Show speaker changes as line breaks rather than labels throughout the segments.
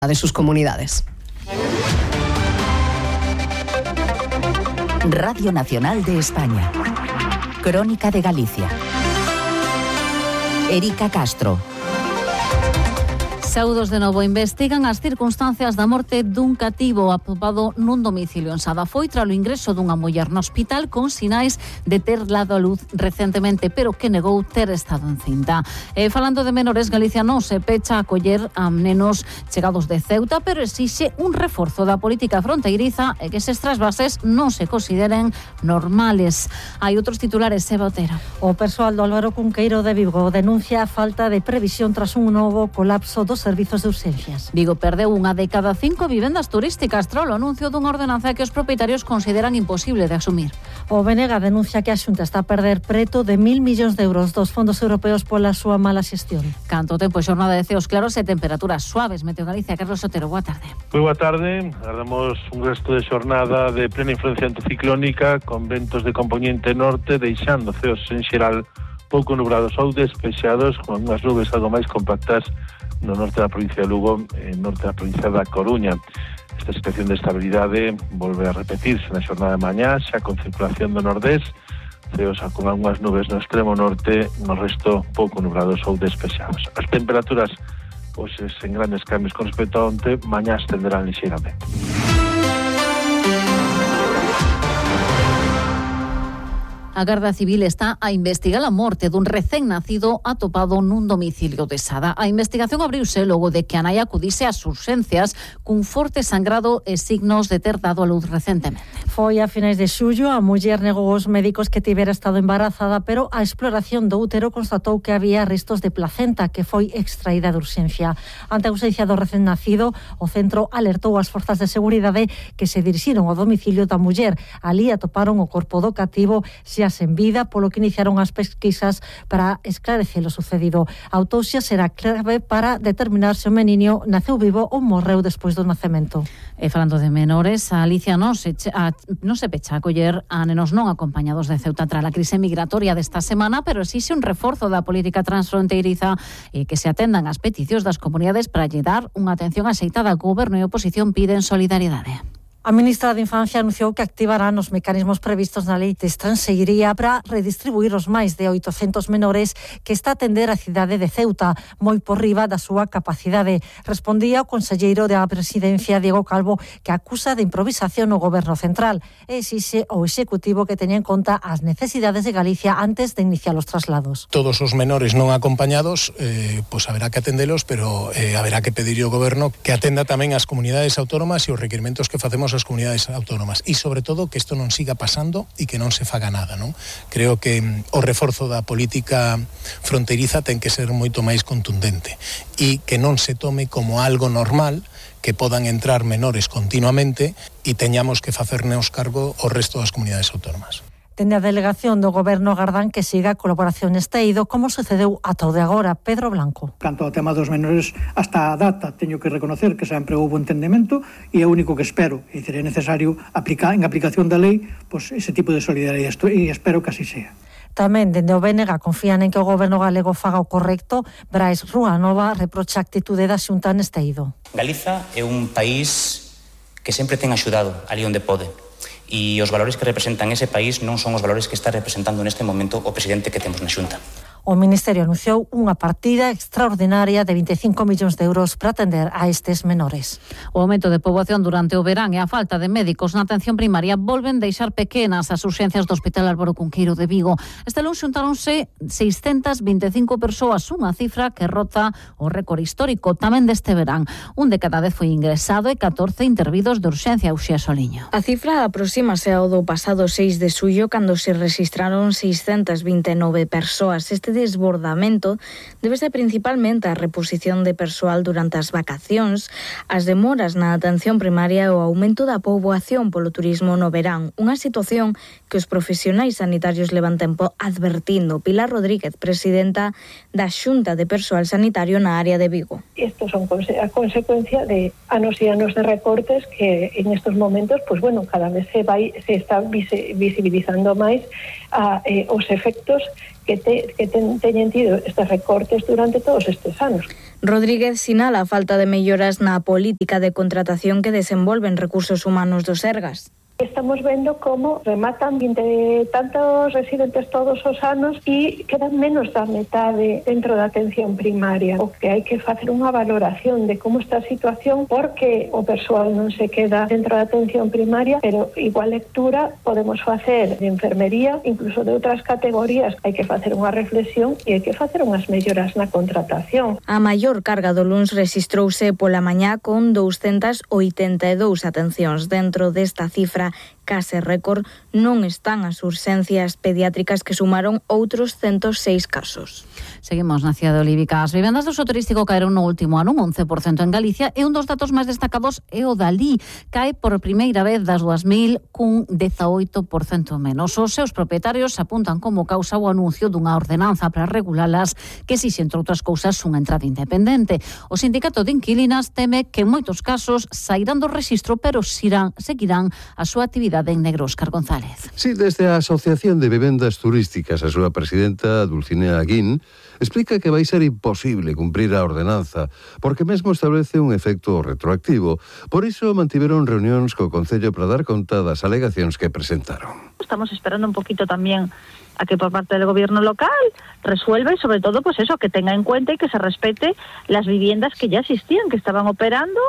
de sus comunidades.
Radio Nacional de España. Crónica de Galicia. Erika Castro.
Saúdos de novo. Investigan as circunstancias da morte dun cativo atopado nun domicilio en Sada. Foi tras o ingreso dunha muller no hospital con sinais de ter dado a luz recentemente, pero que negou ter estado encinta. Falando de menores, Galicia non se pecha a acoller a nenos chegados de Ceuta, pero exixe un reforzo da política fronteiriza e que estes trasvases non se consideren normales. Hai outros titulares, Eva Otero.
O persoal do Álvaro Cunqueiro de Vigo denuncia a falta de previsión tras un novo colapso dos servizos de urxencias.
Vigo perdeu unha de cada 5 vivendas turísticas tras o anuncio dunha ordenanza que os propietarios consideran imposible de asumir.
O Benega denuncia que a Xunta está a perder preto de 1.000 millóns de euros dos fondos europeos pola súa mala xestión.
Canto tempo, xornada de ceos claros e temperaturas suaves. Meteo Galicia, Carlos Otero, boa tarde.
Moi boa tarde, agardamos un resto de xornada de plena influencia anticiclónica con ventos de componente norte deixando ceos en xeral pouco nubrados ou despexados con unhas nubes algo máis compactas no norte da provincia de Lugo e norte da provincia da Coruña. Esta situación de estabilidade volve a repetirse na xornada de mañá, xa con circulación do nordés, ceos con algunhas nubes no extremo norte, no resto pouco nubrados ou despexados. As temperaturas, pois, sen grandes cambios con respecto a onte, mañá ascenderán lixeiramente.
A Garda Civil está a investigar a morte dun recén nacido atopado nun domicilio de Sada. A investigación abriuse logo de que a nai acudise ás urxencias cun forte sangrado e signos de ter dado a luz recentemente.
Foi a finais de xullo, a muller negou aos médicos que tivera estado embarazada, pero a exploración do útero constatou que había restos de placenta que foi extraída de urxencia. Ante a ausencia do recén nacido, o centro alertou as forzas de seguridade que se dirixiron ao domicilio da muller. Ali atoparon o corpo do cativo xa sen vida, polo que iniciaron as pesquisas para esclarecer o sucedido. A autopsia será clave para determinar se o meniño naceu vivo ou morreu despois do nacemento.
E falando de menores, a Alicia non se pecha a acoller a nenos non acompañados de Ceuta tras a crise migratoria desta semana, pero exixe un reforzo da política transfronteiriza e que se atendan as peticións das comunidades para lle dar unha atención axeitada. O goberno e a oposición piden solidariedade.
A ministra de Infancia anunciou que activarán os mecanismos previstos na lei de estranxeiría para redistribuir os máis de 800 menores que está a atender a cidade de Ceuta, moi por riba da súa capacidade. Respondía o conselleiro da Presidencia, Diego Calvo, que acusa de improvisación o goberno central e exixe ao executivo que teña en conta as necesidades de Galicia antes de iniciar os traslados.
Todos os menores non acompañados, pois haberá que atendelos, pero haberá que pedir ao goberno que atenda tamén as comunidades autónomas e os requerimentos que facemos as comunidades autónomas e sobre todo que isto non siga pasando e que non se faga nada, non? Creo que o reforzo da política fronteiriza ten que ser moito máis contundente e que non se tome como algo normal que podan entrar menores continuamente e teñamos que facernos cargo o resto das comunidades autónomas.
Dende a delegación do goberno agardan que siga a colaboración neste eido, como sucedeu ata o de agora. Pedro Blanco.
Canto ao tema dos menores, hasta a data teño que reconocer que sempre houve entendemento e é o único que espero. É dicir, é necesario aplicar en aplicación da lei pois, ese tipo de solidaridade e espero que así sea.
Tamén, dende o Benega, confían en que o goberno galego faga o correcto. Brais Ruanova reprocha a actitude da Xunta neste eido.
Galiza é un país que sempre ten axudado ali onde pode. E os valores que representan ese país non son os valores que está representando neste momento o presidente que temos na Xunta.
O Ministerio anunciou unha partida extraordinaria de 25 millóns de euros para atender a estes menores.
O aumento de poboación durante o verán e a falta de médicos na atención primaria volven deixar pequenas as urxencias do Hospital Álvaro Cunqueiro de Vigo. Este luns xuntáronse 625 persoas, unha cifra que rota o récord histórico tamén deste verán. Un de cada 10 foi ingresado e 14 intervidos de urxencia. Uxía Soliño.
A cifra aproxímase ao do pasado 6 de xullo, cando se registraron 629 persoas. Este desbordamento débese principalmente á reposición de persoal durante as vacacións, as demoras na atención primaria e o aumento da poboación polo turismo no verán, unha situación que os profesionais sanitarios levan tempo advertindo. Pilar Rodríguez, presidenta da Xunta de Persoal Sanitario na área de Vigo.
Estos son a consecuencia de anos e anos de recortes que en estos momentos, pues bueno, cada vez se está visibilizando máis os efectos que teñen tido estes recortes durante todos estes anos.
Rodríguez sinala a falta de melloras na política de contratación que desenvolven recursos humanos do Sergas.
Estamos vendo como rematan 20 tantos residentes todos os anos e quedan menos da metade dentro da atención primaria. O que hai que facer unha valoración de como está a situación, porque o persoal non se queda dentro da atención primaria, pero igual lectura podemos facer de enfermería, incluso de outras categorías. Hai que facer unha reflexión e hai que facer unhas melloras na contratación.
A maior carga do luns rexistrouse pola mañá con 282 atencións. Dentro desta cifra case récord non están as urxencias pediátricas, que sumaron outros 106 casos.
Seguimos na cidade olívica. As vivendas do uso turístico caeron no último ano un 11% en Galicia e un dos datos máis destacados é o Dalí. Cae por primeira vez das 2000 cun 18% menos. Os seus propietarios apuntan como causa o anuncio dunha ordenanza para regulalas que exixe, entre outras cousas, unha entrada independente. O sindicato de inquilinas teme que en moitos casos sairán do rexistro, pero seguirán a súa actividade en negro. Óscar González.
Sí, desde a Asociación de Vivendas Turísticas, a súa presidenta Dulcinea Aguín explica que vai ser imposible cumprir a ordenanza, porque mesmo establece un efecto retroactivo. Por iso mantiveron reunións co Concello para dar conta das alegacións que presentaron.
Estamos esperando un poquito también a que por parte del gobierno local resuelva y sobre todo pues eso, que tenga en cuenta y que se respete las viviendas que ya existían, que estaban operando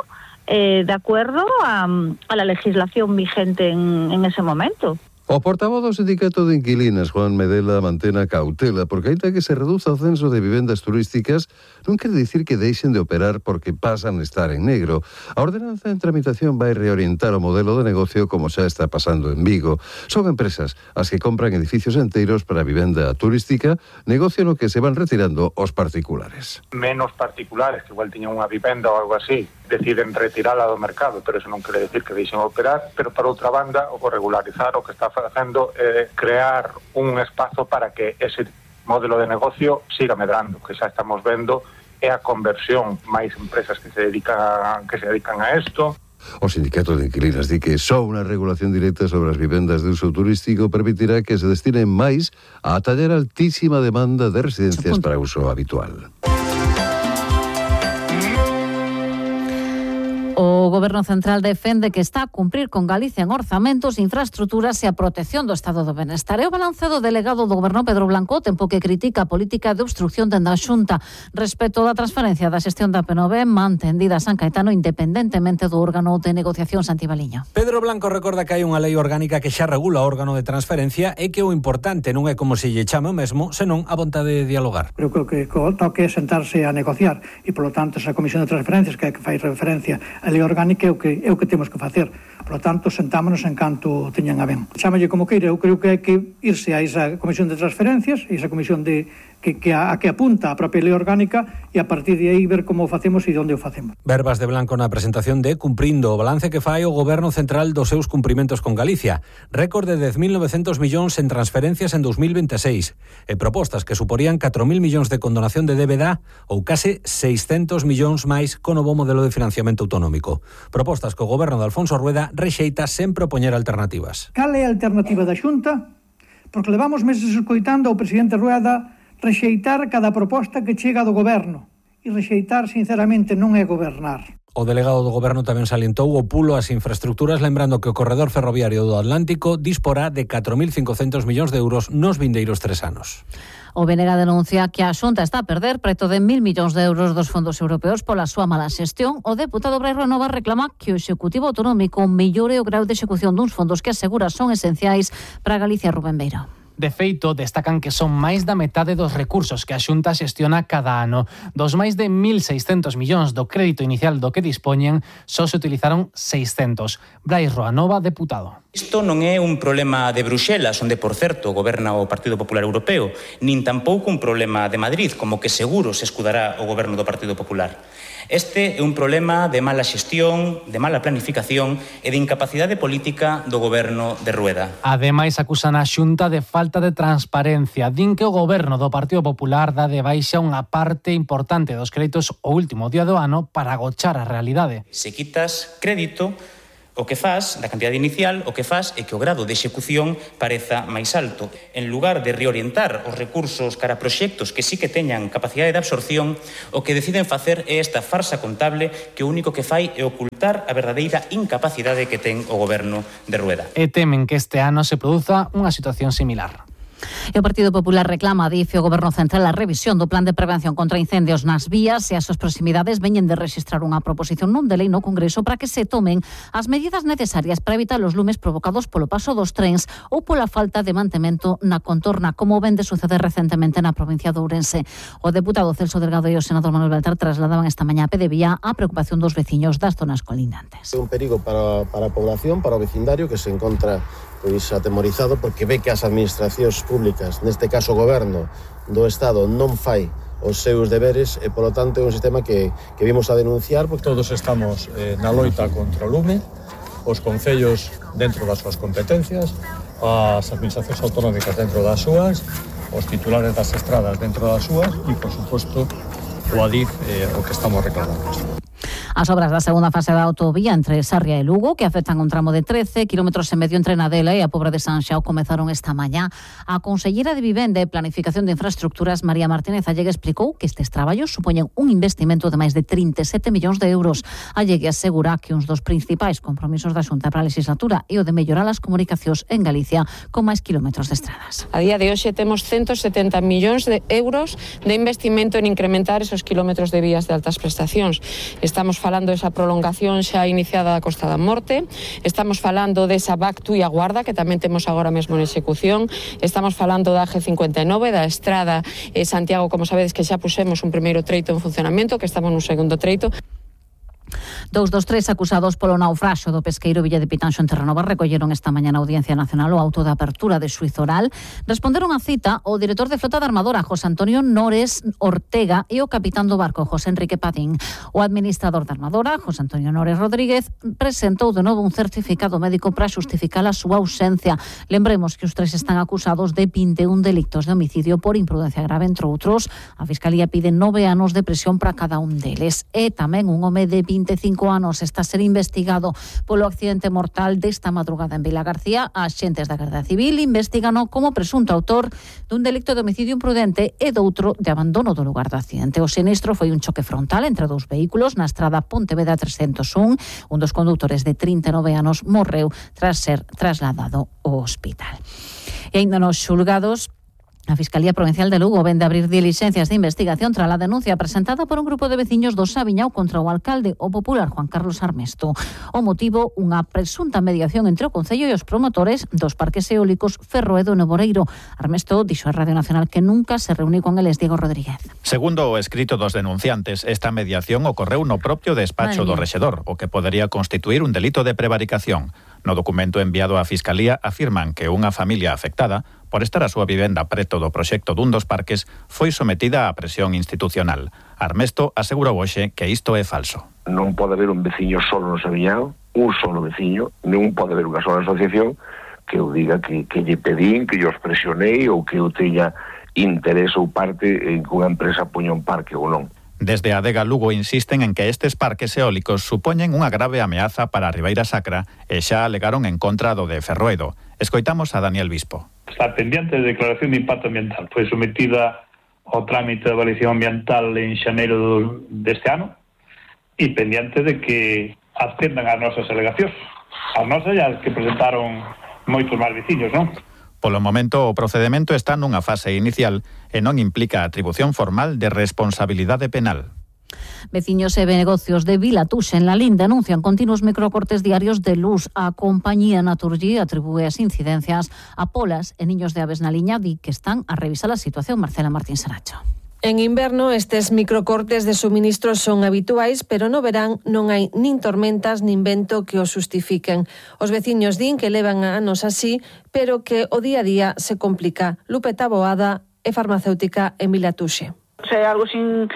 de acuerdo a la legislación vigente en ese momento.
O portavoz do Sindicato de Inquilinas, Juan Medela, mantén a cautela, porque aínda que se reduza o censo de vivendas turísticas, non quere dicir que deixen de operar porque pasan a estar en negro. A ordenanza en tramitación vai reorientar o modelo de negocio como xa está pasando en Vigo. Son empresas as que compran edificios enteiros para vivenda turística, negocio no que se van retirando os particulares.
Menos particulares, que igual tiñan unha vivenda ou algo así, deciden retirala do mercado, pero eso non quere decir que deixen operar, pero por outra banda, o regularizar o que está facendo é crear un espazo para que ese modelo de negocio siga medrando, que xa estamos vendo é a conversión, máis empresas que se dedican a isto.
O sindicato de inquilinas di que só unha regulación directa sobre as vivendas de uso turístico permitirá que se destinen máis a atallar a altísima demanda de residencias para uso habitual.
O Goberno Central defende que está a cumprir con Galicia en orzamentos, infraestructuras e a protección do estado do benestar. E o balance do delegado do Goberno, Pedro Blanco, tempo que critica a política de obstrucción dende a Xunta respecto da transferencia da xestión da PNV mantendida a San Caetano independentemente do órgano de negociación Santibaliño.
Pedro Blanco recorda que hai unha lei orgánica que xa regula o órgano de transferencia e que o importante non é como se lle chame o mesmo, senón a vontade de dialogar.
Eu creo que o toque é sentarse a negociar e, polo tanto, esa comisión de transferencias que fai referencia a lei orgánica é o que temos que facer. Por lo tanto, sentámonos en canto teñan a ben. Chámalle como queira, eu creo que hai que irse a esa comisión de transferencias, esa comisión que apunta a propia lei orgánica e a partir de aí ver como o facemos e onde o facemos.
Verbas de Blanco na presentación de Cumprindo, o balance que fai o Goberno Central dos seus cumprimentos con Galicia. Récord de 10.900 millóns en transferencias en 2026 e propostas que suporían 4.000 millóns de condonación de débeda ou case 600 millóns máis con o novo modelo de financiamento autonómico. Propostas que o Goberno de Alfonso Rueda rexeita sen propoñer alternativas.
Cal é a alternativa da Xunta? Porque levamos meses escoitando ao presidente Rueda rexeitar cada proposta que chega do Goberno. E rexeitar, sinceramente, non é gobernar.
O delegado do Goberno tamén salientou o pulo ás infraestructuras, lembrando que o corredor ferroviario do Atlántico disporá de 4.500 millóns de euros nos vindeiros 3 anos.
O Benega denuncia que a Xunta está a perder preto de 1.000 millóns de euros dos fondos europeos pola súa mala xestión. O deputado Brais Ruanova reclama que o Executivo Autonómico mellore o grau de execución duns fondos que asegura son esenciais para Galicia. Rubén Beiro.
De feito, destacan que son máis da metade dos recursos que a Xunta xestiona cada ano. Dos máis de 1.600 millóns do crédito inicial do que dispoñen, só se utilizaron 600. Brais Ruanova, deputado.
Isto non é un problema de Bruxelas, onde, por certo, goberna o Partido Popular Europeo, nin tampouco un problema de Madrid, como que seguro se escudará o goberno do Partido Popular. Este é un problema de mala xestión, de mala planificación e de incapacidade política do goberno de Rueda.
Ademais, acusan a Xunta de falta de transparencia. Din que o goberno do Partido Popular dá de baixa unha parte importante dos créditos o último día do ano para agochar a realidade.
Se quitas crédito, O que faz, da cantidade inicial, o que faz é que o grado de execución pareza máis alto. En lugar de reorientar os recursos cara a proxectos que sí que teñan capacidade de absorción, o que deciden facer é esta farsa contable que o único que fai é ocultar a verdadeira incapacidade que ten o goberno de Rueda.
E temen que este ano se produza unha situación similar.
E o Partido Popular reclama a DIF e o Goberno Central a revisión do Plan de Prevención contra Incendios nas vías e as súas proximidades veñen de rexistrar unha proposición non de lei no Congreso para que se tomen as medidas necesarias para evitar os lumes provocados polo paso dos trens ou pola falta de mantemento na contorna, como ven de suceder recentemente na provincia de Ourense. O deputado Celso Delgado e o senador Manuel Baltar trasladaban esta mañá a pé de vía a preocupación dos veciños das zonas colindantes.
É un perigo para a población, para o vecindario que se encontra atemorizado porque ve que as administracións públicas, neste caso o Goberno do Estado, non fai os seus deberes e, polo tanto, é un sistema que vimos a denunciar.
Porque todos estamos na loita contra o lume, os concellos dentro das súas competencias, as administracións autonómicas dentro das súas, os titulares das estradas dentro das súas e, por suposto, o ADIF o que estamos reclamando.
As obras da segunda fase da autovía entre Sarria e Lugo, que afectan un tramo de 13 km e medio entre Nadela e a Pobra de San Xao, comezaron esta mañá. A conselleira de Vivenda e Planificación de Infraestructuras, María Martínez Allegue, explicou que estes traballos supoñen un investimento de máis de 37 millóns de euros. Allegue asegura que uns dos principais compromisos da Xunta para a legislatura é o de mellorar as comunicacións en Galicia con máis kilómetros de estradas.
A día de hoxe temos 170 millóns de euros de investimento en incrementar esos kilómetros de vías de altas prestacións. Estamos falando desa prolongación xa iniciada da Costa da Morte, estamos falando desa Bactu e a Guarda, que tamén temos agora mesmo en execución, estamos falando da G59, da Estrada Santiago, como sabedes que xa puxemos un primeiro treito en funcionamento, que estamos no segundo treito.
2 dos 3 acusados polo naufraxo do pesqueiro Villa de Pitanxo en Terranova recolleron esta mañá na Audiencia Nacional o auto de apertura de xuízo oral. Responderon á cita o director de Flota da Armadora, José Antonio Nores Ortega, e o capitán do barco, José Enrique Padín. O administrador da Armadora, José Antonio Nores Rodríguez, presentou de novo un certificado médico para xustificar a súa ausencia. Lembremos que os 3 están acusados de 21 delictos de homicidio por imprudencia grave, entre outros. A Fiscalía pide 9 anos de prisión para cada un deles. E tamén un home de 25 anos está a ser investigado polo accidente mortal desta madrugada en Vila García. As xentes da Garda Civil investigano como presunto autor dun delicto de homicidio imprudente e doutro de abandono do lugar do accidente. O sinistro foi un choque frontal entre 2 vehículos na estrada Pontevedra 301. Un dos condutores de 39 anos morreu tras ser trasladado ao hospital. E aínda nos xulgados, a Fiscalía Provincial de Lugo vende abrir dilixencias de investigación tras a denuncia presentada por un grupo de veciños do Sabiñao contra o alcalde, o popular Juan Carlos Armesto. O motivo, unha presunta mediación entre o Concello e os promotores dos parques eólicos Ferroedo e Novoreiro. Armesto dixo a Radio Nacional que nunca se reuniu con eles. Diego Rodríguez.
Segundo o escrito dos denunciantes, esta mediación ocorreu no propio despacho do rexedor, o que podería constituir un delito de prevaricación. No documento enviado á Fiscalía afirman que unha familia afectada, por estar a súa vivenda preto do proxecto dun dos parques, foi sometida á presión institucional. Armesto asegurou hoxe que isto é falso.
Non pode haber un veciño solo no Sabiñao, un solo veciño, non pode haber unha sola asociación que eu diga que lle pedín, que os presionei ou que eu teña interés ou parte en que unha empresa poña un parque ou non.
Desde Adega Lugo insisten en que estes parques eólicos supoñen unha grave ameaza para a Ribeira Sacra e xa alegaron en contra do de Ferroedo. Escoitamos a Daniel Bispo.
Está pendiente de declaración de impacto ambiental. Foi sometida ao trámite de avaliación ambiental en xaneiro deste ano e pendiente de que atendan as nosas alegacións. As nosas e as que presentaron moitos máis veciños, non?
Polo momento, o procedemento está nunha fase inicial e non implica atribución formal de responsabilidade penal.
Veciños e negocios de Vilatuxe en Lalín denuncian continuos microcortes diarios de luz. A compañía Naturgy atribúe as incidencias a polas e niños de aves na liña di que están a revisar a situación. Marcela Martín Saracho.
En inverno estes microcortes de suministros son habituais, pero no verán non hai nin tormentas nin vento que os justifiquen. Os veciños din que levan anos así, pero que o día a día se complica. Lupe Taboada é farmacéutica en Vilatuxe.
Se hai algo sin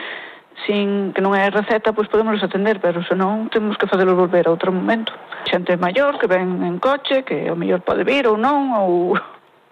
que non é receta, pois podemos atender, pero senón temos que facelo volver a outro momento. Xente maior que ven en coche, que o mellor pode vir ou non, ou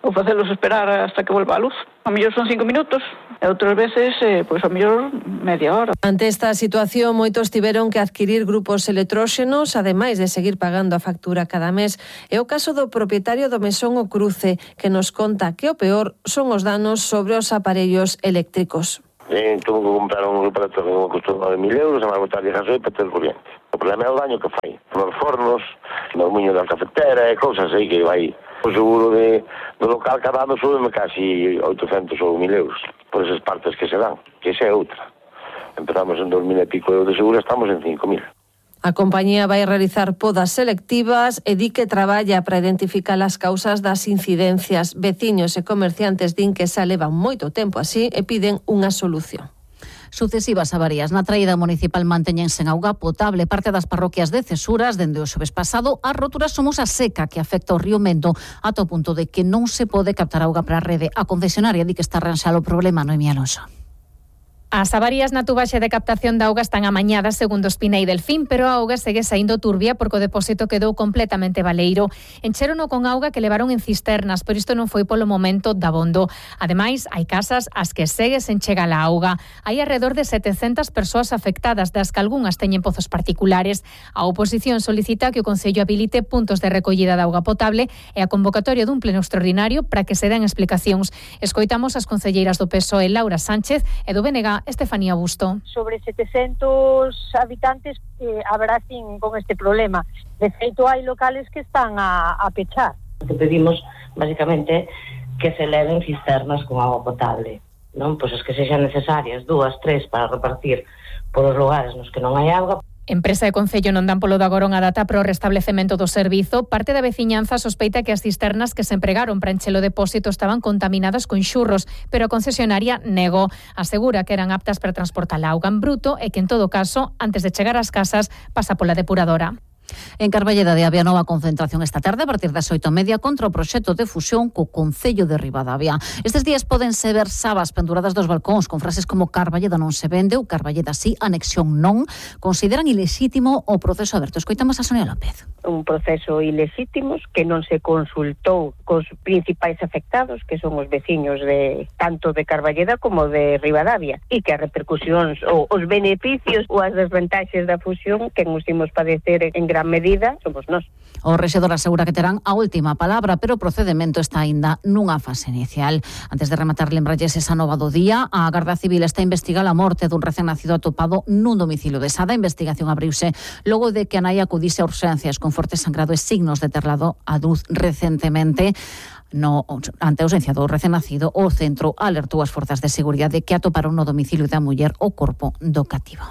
ou facelos esperar hasta que volva a luz. A mellor son 5 minutos, e outras veces, pois a mellor media hora.
Ante esta situación, moitos tiveron que adquirir grupos electróxenos, ademais de seguir pagando a factura cada mes. É o caso do propietario do mesón O Cruce, que nos conta que o peor son os danos sobre os aparellos eléctricos.
Tuve que comprar un reparator que me costou 9.000 euros e me botar de gasoil para ter corriente. O problema é o daño que fai nos fornos, no muño da cafetera e cousas aí que vai. O seguro do local cada ano súbeme casi 800 ou 1.000 euros por esas partes que se dan, que esa é outra. Empezamos en 2.000 e pico euros de seguro, estamos en 5.000.
A compañía vai realizar podas selectivas e di que traballa para identificar as causas das incidencias. Veciños e comerciantes din que xa levan moito tempo así e piden unha solución.
Sucesivas avarías na traída municipal manteñense en auga potable. Parte das parroquias de Cesuras, dende o xoves pasado, as roturas somos a seca que afecta o río Mendo ata o punto de que non se pode captar auga para a rede. A concesionaria di que está arranxado o problema, Noemí Alonso.
As avarías na tubaxe de captación da auga están amañadas segundo Espina e Delfín, pero a auga segue saindo turbia porque o depósito quedou completamente baleiro. Encherono con auga que levaron en cisternas, pero isto non foi polo momento dabondo. Ademais, hai casas ás que segue sen chegar a auga. Hai alrededor de 700 persoas afectadas, das que algunhas teñen pozos particulares. A oposición solicita que o Concello habilite puntos de recollida de auga potable e a convocatoria dun pleno extraordinario para que se den explicacións. Escoitamos as concelleiras do PSOE, Laura Sánchez, e do BNG, Estefanía Busto.
Sobre 700 habitantes habrá sin con este problema. De feito, hai locales que están a pechar.
O que pedimos, basicamente, que se leven cisternas con agua potable. Non? Pois as que sexan necesarias, 2, 3, para repartir por os lugares nos que non hai auga.
Empresa e Concello non dan polo de agora unha data para o restablecemento do servizo. Parte da veciñanza sospeita que as cisternas que se empregaron para encher o depósito estaban contaminadas con xurros, pero a concesionaria negou. Asegura que eran aptas para transportar a auga en bruto e que, en todo caso, antes de chegar ás casas, pasa pola depuradora.
En Carballeda de Avia, nova concentración esta tarde a partir das 8:30 contra o proxecto de fusión co Concello de Ribadavia. Estes días pódense ver sabas penduradas dos balcóns con frases como Carballeda non se vende ou Carballeda sí, anexión non. Consideran ilexítimo o proceso aberto. Escoitamos a Sonia López.
Un proceso ilexítimo que non se consultou cos principais afectados, que son os veciños de tanto de Carballeda como de Ribadavia, e que as repercusións ou os beneficios ou as desvantaxes da fusión que nos imos padecer en gran medida somos nós.
O rexedor asegura que terán a última palabra, pero o procedemento está aínda nunha fase inicial. Antes de rematar, lembralles esa nova do día. A Garda Civil está a investigar a morte dun recén nacido atopado nun domicilio de Sada. A investigación abriuse logo de que a nai acudise a urxencias con forte sangrado e signos de ter dado a luz recentemente. Ante a ausencia do recén nacido, o centro alertou as forzas de seguridade que atoparon no domicilio da muller o corpo do cativo.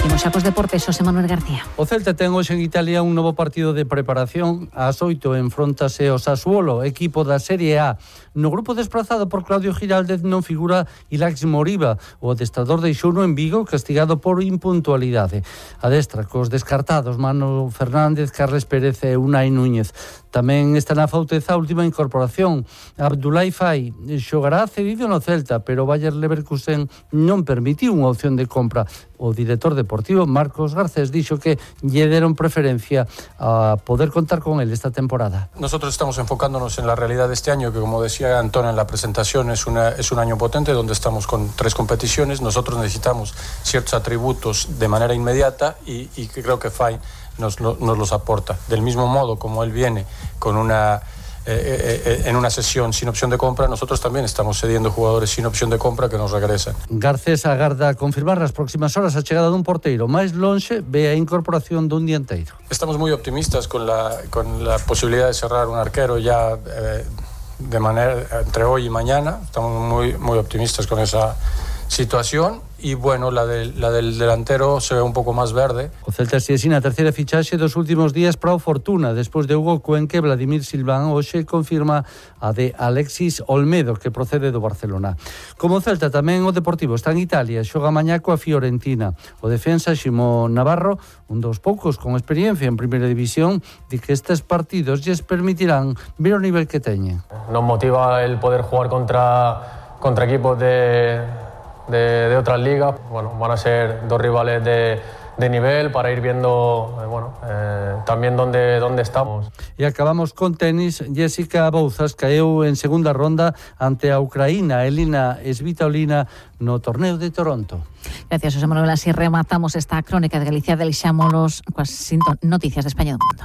Imos xa cos deportes, Xosé Manuel García.
O Celta ten hoxe en Italia un novo partido de preparación. Ás 8 enfróntase ao Sassuolo, equipo da Serie A. No grupo desprazado por Claudio Giraldez non figura Ilax Moriba, o adestrador deixouno en Vigo, castigado por impuntualidade. Adestra cos descartados Manu Fernández, Carles Pérez e Unai Núñez. Tamén está na Fauteza a última incorporación. Abdoulaye Faye xogará cedido no Celta, pero o Bayer Leverkusen non permitiu unha opción de compra. O director deportivo Marcos Garcés dixo que lle deron preferencia a poder contar con él esta temporada.
Nosotros estamos enfocándonos en la realidad de este año, que como decía Antonio en la presentación, es un año potente donde estamos con 3 competiciones. Nosotros necesitamos ciertos atributos de manera inmediata y que creo que Faye nos los aporta. Del mismo modo como él viene con en una sesión sin opción de compra, nosotros también estamos cediendo jugadores sin opción de compra que nos regresan.
Garcés agarda confirmar nas próximas horas a chegada dun porteiro. Máis lonxe ve a incorporación dun dianteiro.
Estamos muy optimistas con la posibilidad de cerrar un arquero ya de manera entre hoy y mañana. Estamos muy optimistas con esa situación. Y bueno, la del delantero se ve un pouco máis verde.
O Celta se asina a terceira fichaxe dos últimos días para o Fortuna. Despois de Hugo Cuenque, Vladimir Silván hoxe confirma a de Alexis Olmedo, que procede do Barcelona. Como o Celta, tamén o Deportivo está en Italia, xoga mañá coa Fiorentina. O defensa Ximón Navarro, un dos poucos con experiencia en primeira división, di que estes partidos lles permitirán ver o nivel que teñen.
Nos motiva el poder jugar contra equipos de otras ligas. Bueno, van a ser dos rivales de de nivel para ir viendo también dónde estamos.
E acabamos con tenis. Jessica Bouzas caeu en segunda ronda ante a Ucraína Elina Svitolina no torneo de Toronto.
Gracias, José Manuel. Así rematamos esta crónica de Galicia. Deixámolos coas noticias de España e do mundo.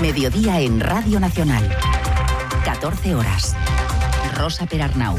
Mediodía en Radio Nacional. 14 horas. Rosa Perarnau.